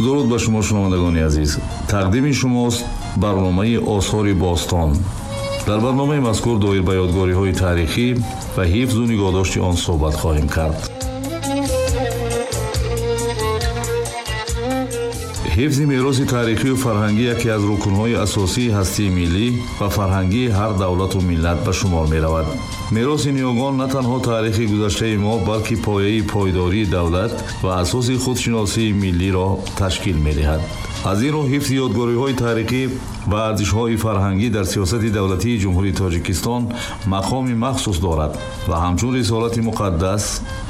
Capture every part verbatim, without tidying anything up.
Дуруд ба шумо, шунавандагони азиз. Тақдими шумост барномаи осори бостон. Дар барномаи мазкур доир ба ёдгориҳои таърихӣ ва ҳифзу нигоҳдошти он суҳбат хоҳем кард. Ҳифзи мероси таърихию фарҳангӣ яке аз рукнҳои асосии ҳастии миллӣ ва фарҳангии ҳар давлату миллат ба шумор меравад. Мероси ниёгон на танҳо таърихи гузаштаи мо, балки пояи пойдории давлат ва асоси худшиносии миллиро ташкил медиҳад. Аз ин рӯ ҳифзи ёдгориҳои таърихӣ ва арзишҳои фарҳангӣ дар сиёсати давлатии Ҷумҳурии Тоҷикистон мақоми махсус дорад ва ҳамчун рисолати муқаддас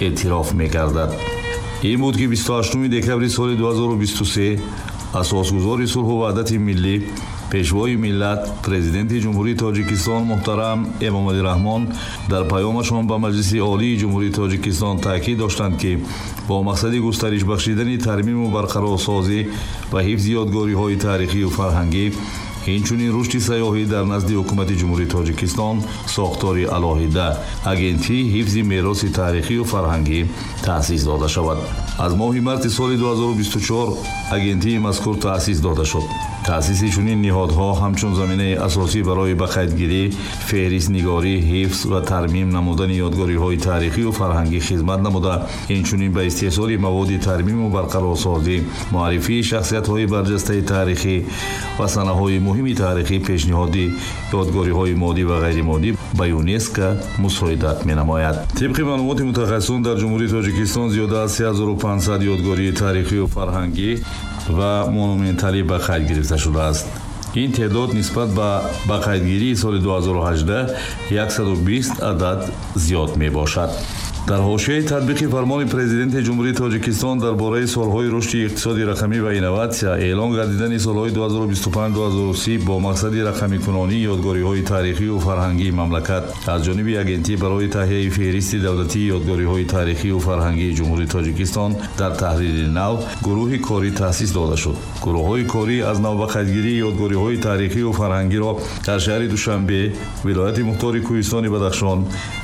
эътироф мегардад. Ин буд, ки бисту ҳаштуми декабри соли ду ҳазору бисту се асосгузори сулҳу ваҳдати миллӣ, пешвои миллат, президенти Ҷумҳурии Тоҷикистон муҳтарам Эмомалӣ Раҳмон дар паёмашон ба Маҷлиси Олии Ҷумҳурии Тоҷикистон таъкид доштанд, ки бо мақсади густариш бахшидани тармиму барқарорсозӣ ва ҳифзи ёдгориҳои таърихию фарҳангӣ, инчунин рушди сайёҳӣ дар назди ҳукумати Ҷумҳурии Тоҷикистон сохтори алоҳида Агентии ҳифзи мероси таърихию фарҳангӣ таъсис дода шавад. Аз моҳи марти соли ду ҳазору бисту чор агентии мазкур таъсис дода шуд. Таъсиси чунин ниҳодҳо ҳамчун заминаи асосӣ барои ба қайдгирӣ, феҳристнигорӣ, ҳифз ва тармим намудани ёдгориҳои таърихию фарҳангӣ хизмат намуда, инчунин ба истеҳсоли маводи тармиму барқарорсозӣ, муаррифии шахсиятҳои барҷастаи таърихӣ ва санаҳои муҳими таърихӣ, пешниҳоди ёдгориҳои моддӣ ва ғайримоддӣ ба ЮНЕСКО мусоидат менамояд. Тибқи маълумоти мутахассисон, дар Ҷумҳурии Тоҷикистон зиёда аз се ҳазору панҷсад ёдгории таърихию фарҳангӣ ва монументалӣ ба қайд гирифта шудааст. Ин теъдод нисбат ба ба қайдгирии соли ду ҳазору ҳаждаҳ яксаду бист адад зиёд мебошад. Дар ҳошияи татбиқи фармони президенти Ҷумҳурии Тоҷикистон дар бораи солҳои рушди иқтисоди рақамӣ ва инноватсия эълон гардидани солҳои ду ҳазору бисту панҷ ду ҳазору си бо мақсади рақамикунонии ёдгориҳои таърихию фарҳангии мамлакат аз ҷониби агентӣ барои таҳияи феҳристи давлатии ёдгориҳои таърихию фарҳангии Ҷумҳурии Тоҷикистон дар таҳрири нав гурӯҳи корӣ таъсис дода шуд. Гурӯҳҳои корӣ аз нав ба қайдгирии ёдгориҳои таърихию фарҳангиро дар шаҳри Душанбе, вилояти мухтори Кӯҳистони Бадахшон,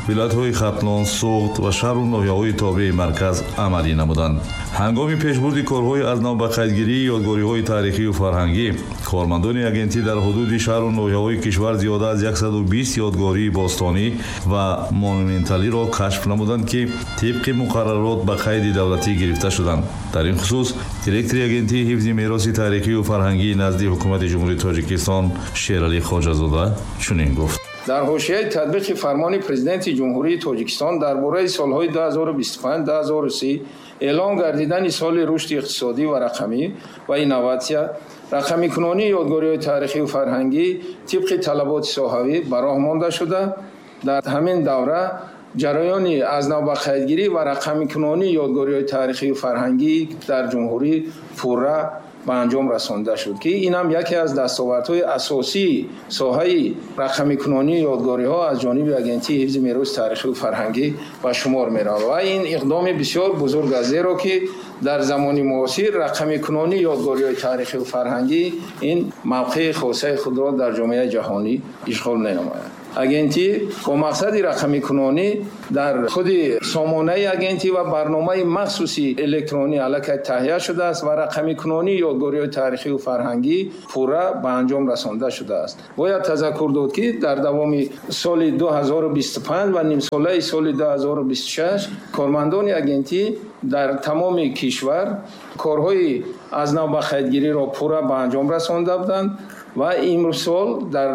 вилоятҳои Хатлон, Суғд ва шаҳру ноҳияҳои тобеи марказ амалӣ намуданд. Ҳангоми пешбурди корҳои аз нав ба қайдгирии ёдгориҳои таърихию фарҳангӣ, кормандони агентӣ дар ҳудуди шаҳру ноҳияҳои кишвар зиёда аз яксаду бист ёдгории бостонӣ ва монументалиро кашф намуданд, ки тибқи муқаррарот ба қайди давлатӣ гирифта шуданд. Дар ин хусус директори агентии ҳифзи мероси таърихию фарҳангии назди ҳукумати Ҷумҳурии Тоҷикистон Шералӣ Хоҷазода чунин гуфт. Дар ҳошияи татбиқи фармони президенти Ҷумҳурии Тоҷикистон дар бораи солҳои ду ҳазору бисту панҷ ду ҳазору си эълон гардидани соли рушди иқтисодӣ ва рақамӣ ва инноватсия, рақамикунонии ёдгориҳои таърихию фарҳангӣ тибқи талаботи соҳавӣ ба роҳ монда шуда, дар ҳамин давра ҷараёни аз нав ба қайдгирӣ ва рақамикунонии ёдгориҳои таърихию фарҳангӣ дар ҷумҳурӣ пурра ба анҷом расонда шуд, ки ин ҳам яке аз дастовардҳои асосии соҳаи рақамикунонии ёдгориҳо аз ҷониби агентии ҳифзи мероси таърихию фарҳангӣ ба шумор меравад. Ва ин иқдоми бисёр бузург аст, зеро ки дар замони муосир рақамикунонии ёдгориҳои таърихию фарҳангӣ ин мавқеи хосаи худро дар ҷомеаи ҷаҳонӣ ишғол менамояд. Агентӣ бо мақсади рақамикунонӣ дар худи сомонаи агентӣ ва барномаи махсуси электронӣ аллакай таҳия шудааст ва рақамикунонии ёдгориҳои таърихию фарҳангӣ пурра ба анҷом расонда шудааст. Бояд тазаккур дод, ки дар давоми соли ду ҳазору бисту панҷ ва нимсолаи соли ду ҳазору бисту шаш кормандони агентӣ дар тамоми кишвар корҳои аз нав ба қайдгириро пурра ба анҷом расонда буданд ва имсол дар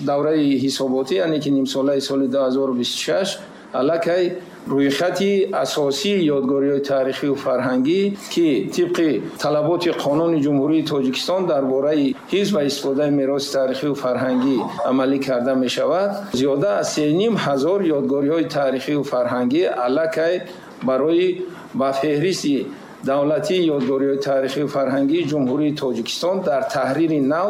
давраи ҳисоботӣ, яъне ки нимсолаи соли ду ҳазору бисту шаш аллакай рӯйхати асосии ёдгориҳои таърихию фарҳангӣ, ки тибқи талаботи қонуни Ҷумҳурии Тоҷикистон дар бораи ҳифз ва истифодаи мероси таърихию фарҳангӣ амалӣ карда мешавад, зиёда аз се ним ҳазор ёдгориҳои таърихию фарҳангӣ аллакай барои ба феҳристи давлатии ёдгориҳои таърихию фарҳангии Ҷумҳурии Тоҷикистон дар таҳрири нав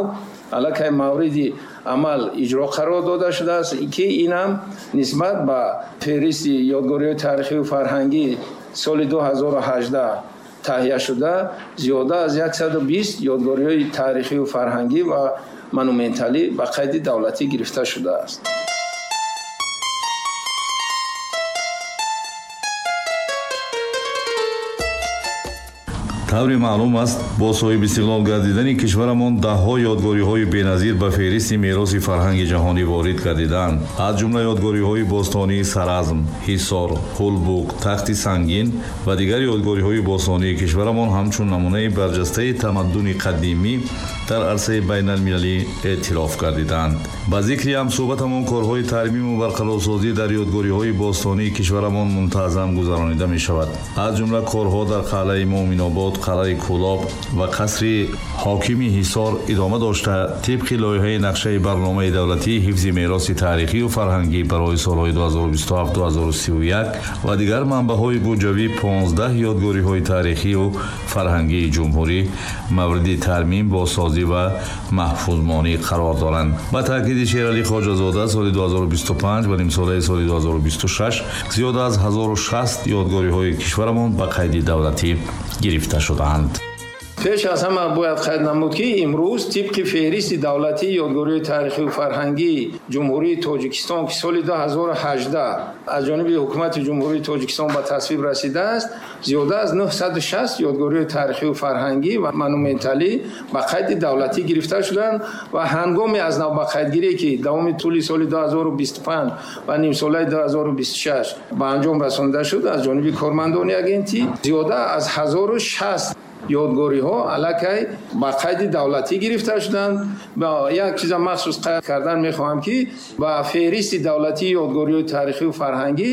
аллакай мавриди амал иҷро қарор дода шудааст, ки ин ҳам нисбат ба феҳристи ёдгориҳои таърихию фарҳангӣ соли ду ҳазору ҳаждаҳ таҳия шуда зиёда аз яксаду бист ёдгориҳои таърихию фарҳангӣ ва монументалӣ ба қайди давлатӣ гирифта шудааст. Тавре маълум аст, бо соҳиби истиқлол гардидани кишварамон даҳҳо ёдгориҳои беназир ба феҳристи мероси фарҳанги ҷаҳонӣ ворид гардиданд. Аз ҷумла ёдгориҳои бостонии Саразм, Ҳисор, Ҳулбук, Тахти Сангин ва дигар ёдгориҳои бостонии кишварамон ҳамчун намунаи барҷастаи тамаддуни қадимӣ дар арсаи байналмилалӣ эътироф гардиданд. Ба зикри ҳамсӯҳбатамон корҳои тармиму барқарорсозӣ дар ёдгориҳои бостонии кишварамон мунтазам гузаронида мешавад. Аз ҷумла корҳо дар қалъаи Муъминобод, қалъаи Кӯлоб ва қасри ҳокими Ҳисор идома дошта, тибқи лоиҳаи нақшаи барномаи давлатии ҳифзи мероси таърихию фарҳангӣ барои солҳои ду ҳазору бисту ҳафт ду ҳазору сию як ва дигар манбаъҳои буҷавӣ понздаҳ ёдгориҳои таърихию фарҳангии ҷумҳурӣ мавриди тармим, бозсозӣ ва маҳфузмонӣ қарор доранд. Ба таъкиди Шералӣ Хоҷазода, соли ду ҳазору бисту панҷ ва нимсолаи соли ду ҳазору бисту шаш зиёда аз ҳазору шаст ёдгориҳои кишварамон ба қайди давлатӣ гирифта шудаанд. Пеш аз ҳама бояд қайд намуд, ки имрӯз тибқи феҳристи давлатии ёдгориҳои таърихию фарҳангии Ҷумҳурии Тоҷикистон, ки соли ду ҳазору ҳаждаҳ аз ҷониби Ҳукумати Ҷумҳурии Тоҷикистон ба тасвиб расидааст, зиёда аз нӯҳсаду шаст ёдгориҳои таърихию фарҳангӣ ва монументалӣ ба қайди давлатӣ гирифта шуданд ва ҳангоми аз нав ба қайдгирӣ, ки давоми тӯли соли ду ҳазору бисту панҷ ва нимсолаи ду ҳазору бисту шаш ба анҷом расонида шуд, аз ҷониби кормандони агентӣ зиёда аз ҳазору шаст ёдгориҳо аллакай ба қайди давлатӣ гирифта шуданд. Ба як чиза махсус қайд кардан мехоҳам, ки ба феҳристи давлатии ёдгориҳои таърихию фарҳангӣ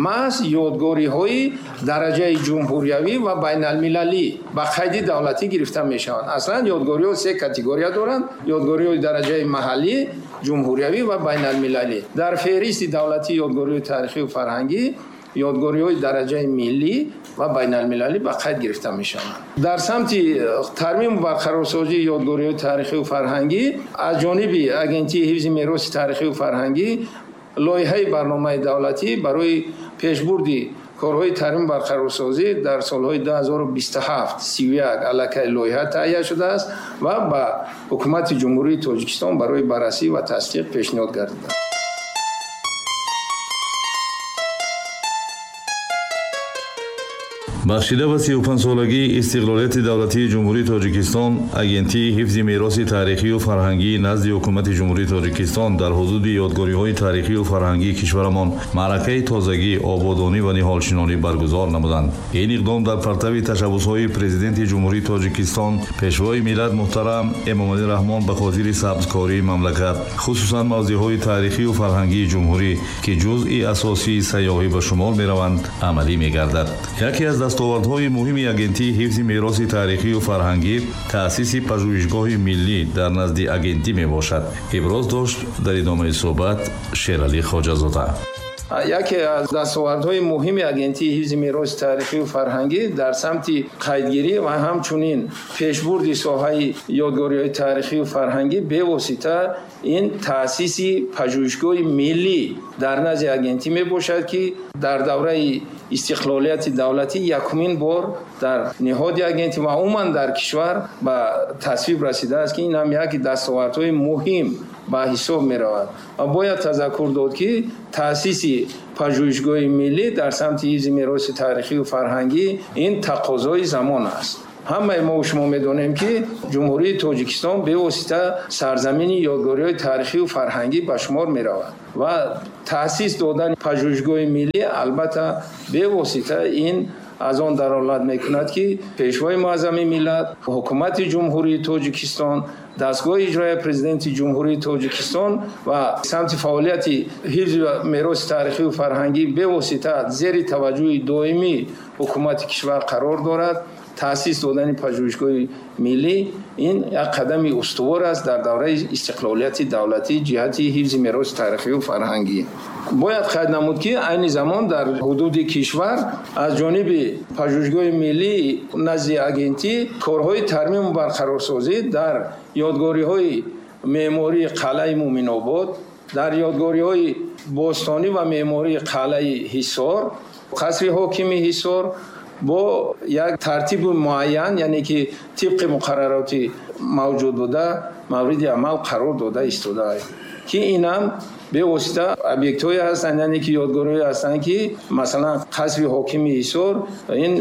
маҳз ёдгориҳои дараҷаи ҷумҳуриявӣ ва байналмилалӣ ба қайди давлатӣ гирифта мешаванд. Аслан ёдгориҳо се категория доранд: ёдгориҳои дараҷаи маҳаллӣ, ҷумҳуриявӣ ва байналмилалӣ. Дар феҳристи давлатии ёдгориҳои таърихию фарҳангӣ ёдгориҳои дараҷаи миллӣ ва байналмилалӣ ба қайд гирифта мешаванд. Дар самти тармиму барқарорсозии ёдгориҳои таърихию фарҳангӣ аз ҷониби Агентии ҳифзи мероси таърихию фарҳангӣ лоиҳаи барномаи давлатӣ барои пешбурди корҳои тармим барқарорсозӣ дар солҳои ду ҳазору бисту ҳафт сию як аллакай лоиҳа таҳия шудааст ва ба Ҳукумати Ҷумҳурии Тоҷикистон барои баррасӣ ва тасдиқ пешниҳод гардидааст. Бахшида ба сию панҷсолагии истиқлолияти давлатии Ҷумҳурии Тоҷикистон, Агентии ҳифзи мероси таърихию фарҳангии назди Ҳукумати Ҷумҳурии Тоҷикистон дар ҳудуди ёдгориҳои таърихию фарҳангии кишварамон маъракаи тозагӣ, ободонӣ ва ниҳолшинонӣ баргузор намуданд. Ин иқдом дар партави ташаббусҳои Президенти Ҷумҳурии Тоҷикистон, Пешвои миллат муҳтарам Эмомалӣ Раҳмон ба хотири сабзкории мамлакат, хусусан мавзеъҳои таърихию фарҳангии ҷумҳурӣ, ки ҷузъи асосии сайёҳӣ ба шумор мераванд, амалӣ мегардад. Яке аз дастовардҳои муҳими Агентии ҳифзи мероси таърихию фарҳангӣ таъсиси пажӯҳишгоҳи миллӣ дар назди агентӣ мебошад. Иброз дошт дар идомаи суҳбат Шералӣ Хоҷазода. Яке аз дастовардҳои муҳими Агентии ҳифзи мероси таърихию фарҳангӣ дар самти қайдгирӣ ва ҳамчунин пешбурди соҳаи ёдгориҳои таърихию фарҳангӣ бевосита ин таъсиси пажӯҳишгоҳи миллӣ дар назди агентӣ мебошад, ки дар давраи истиқлолияти давлатӣ якумин бор дар ниҳоди агентӣ ва умуман дар кишвар ба тасвиб расидааст, ки ин ҳам яке дастовардҳои муҳим ба ҳисоб меравад. Ва бояд тазаккур дод, ки таъсиси пажӯҳишгоҳи миллӣ дар самти ҳифзи мероси таърихию фарҳангӣ ин тақозои замон аст. Ҳамаи мо шумо медонем, ки Ҷумҳурии Тоҷикистон бевосита сарзамини ёдгориҳои таърихию фарҳангӣ ба шумор меравад ва таъсис додани пажӯҳишгоҳи миллӣ албатта бевосита ин аз он далолат мекунад, ки Пешвои муаззами миллат, Ҳукумати Ҷумҳурии Тоҷикистон, дастгоҳи иҷроияи Президенти Ҷумҳурии Тоҷикистон ва самти фаъолияти ҳифзи мероси таърихию фарҳангӣ бевосита зери таваҷҷӯҳи доимии ҳукумати кишвар қарор дорад. Таъсис додани пажӯҳишгоҳи миллӣ ин як қадами устувор аст дар давраи истиқлолияти давлатӣ ҷиҳати ҳифзи мероси таърихию фарҳангӣ. Бояд қайд намуд, ки айни замон дар ҳудуди кишвар аз ҷониби пажӯҳишгоҳи миллӣ назди агентӣ корҳои тармиму барқарорсозӣ дар ёдгориҳои меъмории қалъаи Муъминобод, дар ёдгориҳои бостонӣ ва меъмории қалъаи Ҳисор, қасри ҳокими Ҳисор бо як тартиби муайян, яъне ки тибқи муқаррароти мавҷуд буда мавриди амал қарор дода истодааст, ки ин ҳам Бевосита объектҳое ҳастанд, яъне ки ёдгориҳое ҳастанд, ки масалан қасри ҳокими Ҳисор, ин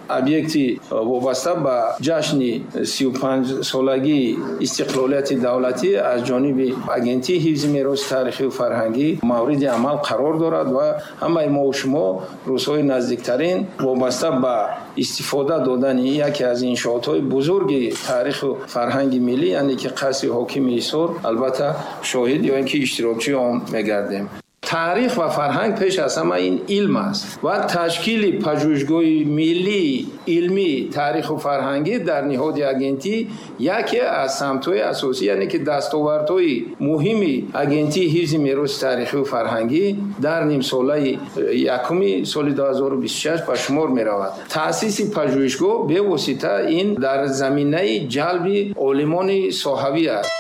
объекти вобаста ба ҷашни сию панҷ солагии истиқлолияти давлатӣ аз ҷониби Агентии ҳифзи мероси таърихию фарҳангӣ мавриди амал қарор дорад ва ҳамаи мо ва шумо рӯзҳои наздиктарин вобаста ба истифода додани яке аз иншоотҳои бузурги таъриху фарҳанги миллӣ, яъне ки қасри ҳокими Ҳисор, албатта шоҳид ё ин ки иштирокчии он мегардем. Таърих ва фарҳанг пеш аз ҳама ин илм аст ва ташкили пажӯҳишгоҳи миллии илмии таъриху фарҳангӣ дар ниҳоди агентӣ яке аз самтҳои асосӣ, яъне ки дастовардҳои муҳими Агентии ҳифзи мероси таърихию фарҳангӣ дар нимсолаи якуми соли ду ҳазору бисту шаш ба шумор меравад. Таъсиси пажӯҳишгоҳ бевосита ин дар заминаи ҷалби олимони соҳавӣ аст.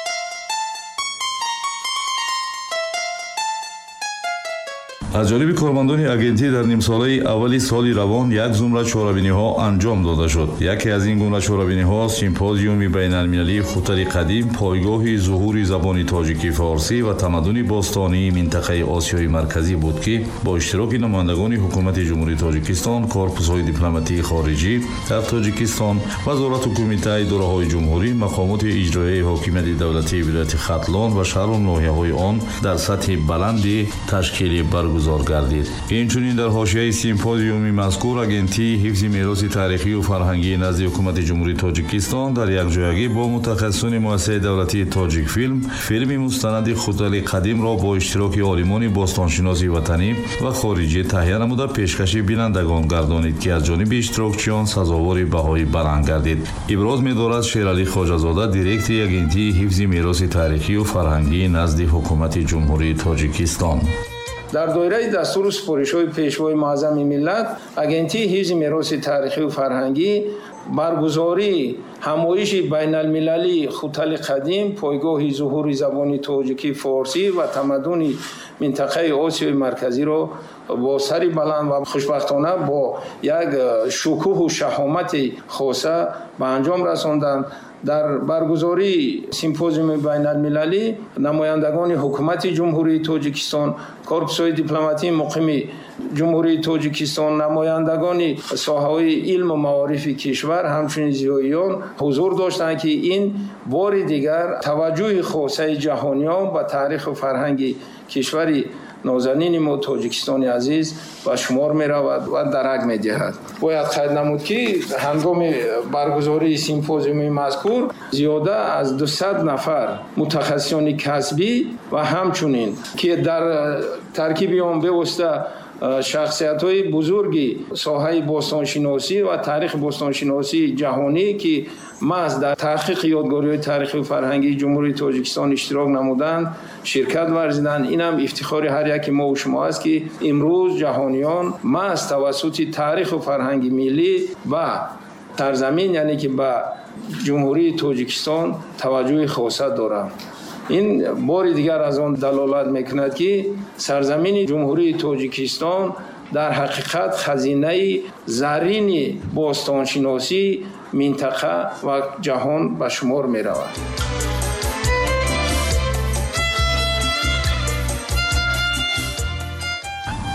Аз ҷониби кормандони агентӣ дар нимсолаи аввали соли равон як зумра чорабиниҳо анҷом дода шуд. Яке аз ин гуна чорабиниҳо симпозиуми байналмилалии Хутали қадим, пойгоҳи зуҳури забони тоҷикӣ форсӣ ва тамаддуни бостонии минтақаи Осиёи Марказӣ буд, ки бо иштироки намояндагони ҳукумати Ҷумҳурии Тоҷикистон, корпусҳои дипломатии хориҷӣ дар Тоҷикистон, вазорату кумитаи идораҳои ҷумҳурӣ, мақомоти иҷроияи ҳокимияти давлатии вилояти Хатлон ва шаҳру ноҳияҳои он дар сатҳи баланди ташкилӣ баргузор гардид. Инчунин дар ҳошияи симпозиуми мазкур Агентии ҳифзи мероси таърихию фарҳангии назди ҳукумати Ҷумҳурии Тоҷикистон дар якҷоягӣ бо мутахассисони муассисаи давлатии Тоҷикфилм филми мустанади Хутали қадимро бо иштироки олимони бостоншиноси ватанӣ ва хориҷӣ таҳия намуда пешкаши бинандагон гардонид, ки аз ҷониби иштирокчиён сазовори баҳои баланд гардид. Иброз медорад Шералӣ Хоҷазода, директори Агентии ҳифзи мероси таърихию фарҳангии назди ҳукумати Ҷумҳурии Тоҷикистон. Дар доираи дастуру супоришҳои Пешвои муаззами миллат, Агентии ҳифзи мероси таърихию фарҳангӣ баргузории ҳамоиши байналмилалии Хутали қадим, пойгоҳи зуҳури забони тоҷикӣ форсӣ ва тамаддуни минтақаи Осиёи Марказиро бо сари баланд ва хушбахтона бо як шукӯҳу шаҳомати хоса ба анҷом расонданд. Дар баргузории симпозиуми байналмилалӣ намояндагони ҳукумати Ҷумҳурии Тоҷикистон, корпусҳои дипломатии муқими Ҷумҳурии Тоҷикистон, намояндагони соҳаҳои илму маорифи кишвар, ҳамчунин зиёиён ҳузур доштанд, ки ин бори дигар таваҷҷӯҳи хосаи ҷаҳониён ба таъриху фарҳанги кишвари нозанини мо Тоҷикистони азиз ба шумор меравад ва дарак медиҳад. Бояд қайд намуд, ки ҳангоми баргузории симпозиуми мазкур зиёда аз дусад нафар мутахассисони касбӣ ва ҳамчунин ки дар таркиби он бевосита шахсиятҳои бузурги соҳаи бостоншиносӣ ва таърихи бостоншиносии ҷаҳонӣ, ки маҳз дар таҳқиқи ёдгориҳои таърихию фарҳангии Ҷумҳурии Тоҷикистон иштирок намуданд, ширкат варзиданд. Инам ифтихори ҳар яки мо ва шумо аст, ки имрӯз ҷаҳониён маҳз тавассути таъриху фарҳанги миллӣ ба сарзамин, яъне ки ба Ҷумҳурии Тоҷикистон таваҷҷӯҳи хоса доранд. Ин бори дигар аз он далолат мекунад, ки сарзамини Ҷумҳурии Тоҷикистон дар ҳақиқат хазинаи заррини бостоншиносии минтақа ва ҷаҳон ба шумор меравад.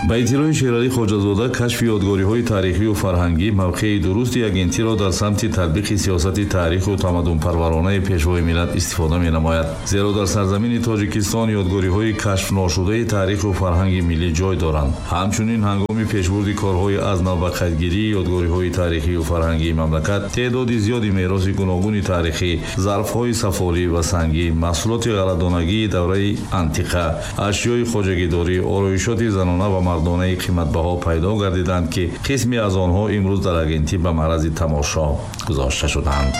Ба иттилои Шералӣ Хоҷазода, кашфи ёдгориҳои таърихию фарҳангӣ мавқеи дурусти агентиро дар самти татбиқи сиёсати таъриху тамаддунпарваронаи Пешвои миллат истифода менамояд. Зеро дар сарзамини Тоҷикистон ёдгориҳои кашфношудаи таъриху фарҳанги миллӣ ҷой доранд. Ҳамчунин ҳангоми пешбурди корҳои аз нав ба қайдгирии ёдгориҳои таърихию фарҳангии мамлакат теъдоди зиёди мероси гуногуни таърихӣ, зарфҳои сафолӣ ва сангӣ, маҳсулоти ғалладонагии давраи антиқа, ашёи хоҷагидорӣ, ороишоти занона ва мардонаи қиматбаҳо пайдо гардиданд, ки қисме аз онҳо имрӯз дар агентӣ ба маърази тамошо гузошта шуданд.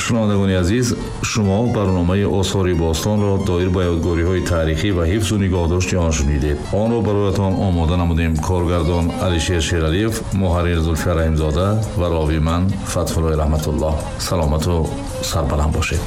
Шунавандагони азиз, шумо барномаи осори бостонро доир ба ёдгориҳои таърихӣ ва ҳифзу нигоҳдошти он шунидед. Онро бароятон омода намудем коргардон Алишер Шералиев, муҳаррир Зулфия Раҳимзода ва ровӣ ман Фатҳуллои Раҳматуллоҳ. Саломату сарбаланд бошед.